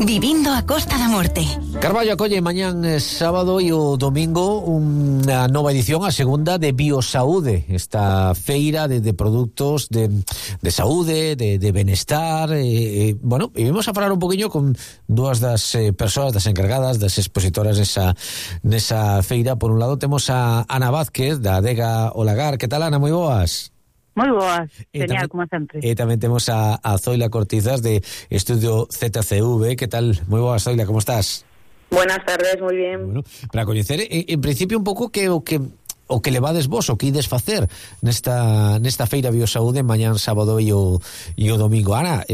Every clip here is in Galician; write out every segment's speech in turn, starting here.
Vivindo a Costa da Morte. Carballo acolle mañán sábado e o domingo unha nova edición, a segunda, de Biosaúde, esta feira de produtos de saúde, de benestar. Bueno, e vimos a falar un poquinho con dúas das persoas, das encargadas, das expositoras nesa feira. Por un lado temos a Ana Vázquez, da Adega Olagar. Que tal, Ana? Moi boas. Moi boas, genial, como sempre. E tamén temos a Zoila Cortizas, de Estudio ZCV. Que tal? Moi boas, Zoila, como estás? Buenas tardes, moi bien. Bueno, para coñecer, en principio, un pouco o que levades vos, o que ides facer nesta feira Biosaúde mañán sábado e o domingo. Ana,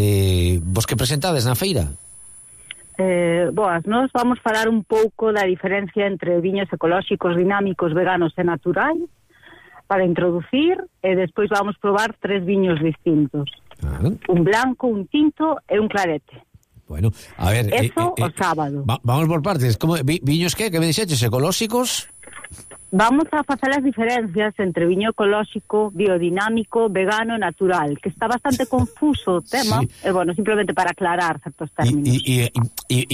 vos que presentades na feira? Boas, nós vamos falar un pouco da diferencia entre viños ecolóxicos, dinámicos, veganos e naturais, para introducir, e despois vamos probar 3 viños distintos. Un blanco, un tinto e un clarete. Bueno, a ver... Eso o sábado. Vamos por partes. Como, viños que me dixeches, ecolóxicos? Vamos a facer as diferencias entre viño ecolóxico, biodinámico, vegano e natural, que está bastante confuso o tema, sí. E bueno, simplemente para aclarar certos términos. E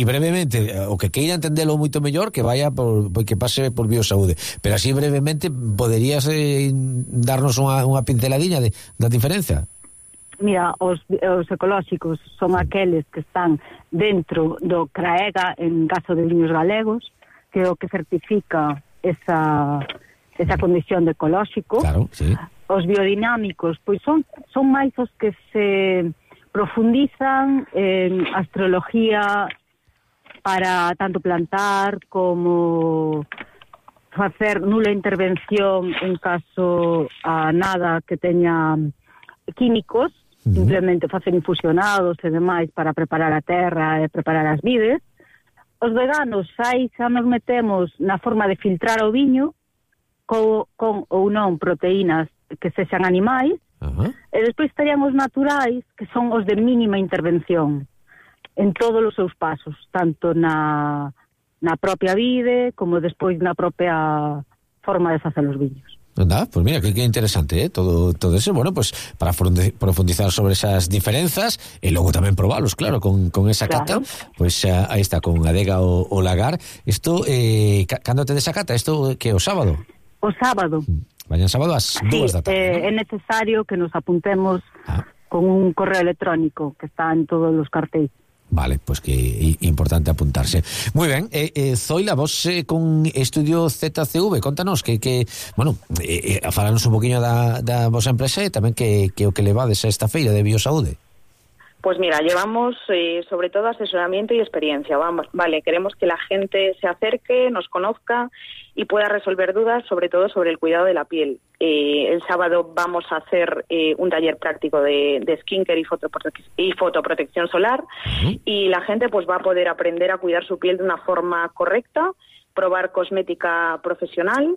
brevemente, o que queira entendelo moito mellor, que que pase por Biosaúde, pero así brevemente poderías darnos unha pinceladiña da diferenza? Mira, os ecolóxicos son aqueles que están dentro do CRAEGA, en caso de viños galegos, que é o que certifica esa condición de ecolóxico. Claro, sí. Os biodinámicos, pois son máis os que se profundizan en astrología para tanto plantar como facer nula intervención en caso a nada que teña químicos, simplemente facer infusionados e demais para preparar a terra e preparar as vides. Os veganos, aí xa nos metemos na forma de filtrar o viño con ou non proteínas que sexan animais. E despois estarían os naturais, que son os de mínima intervención en todos os seus pasos, tanto na propia vide como despois na propia forma de facer os viños. Anda, pues mira, que interesante, todo eso. Bueno, pues para profundizar sobre esas diferenzas e logo tamén probalos, claro, con esa cata, pues aí está, con Adega Olagar. Isto, cando te desacata? Isto que é o sábado? O sábado. Mañan sábado ás 2 da tarde. É necesario que nos apuntemos con un correo electrónico que está en todos os cartéis. Vale, pues que importante apuntarse. Muy ben, Zoila, vos con Estudio ZCV, contanos que bueno, falanos un poquinho da vosa empresa e tamén que o que levades a esta feira de Biosaúde. Pues mira, llevamos sobre todo asesoramiento y experiencia. Vale, queremos que la gente se acerque, nos conozca y pueda resolver dudas, sobre todo sobre el cuidado de la piel. El sábado vamos a hacer un taller práctico de skincare y fotoprotección solar, y la gente pues va a poder aprender a cuidar su piel de una forma correcta, probar cosmética profesional,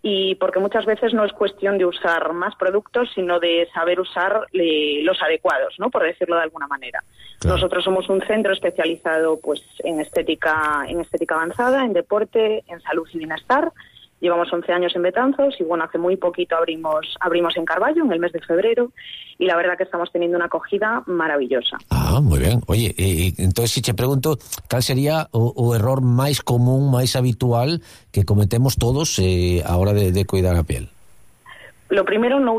y porque muchas veces no es cuestión de usar más productos, sino de saber usar los adecuados, ¿no? Por decirlo de alguna manera. Claro. Nosotros somos un centro especializado pues en estética avanzada, en deporte, en salud y bienestar. Llevamos 11 años en Betanzos y bueno, hace muy poquito abrimos en Carballo en el mes de febrero, y la verdad que estamos teniendo una acogida maravillosa. Muy bien. Oye, entonces si te pregunto, ¿cal sería o error máis común, máis habitual que cometemos todos a hora de cuidar a piel? Lo primero, no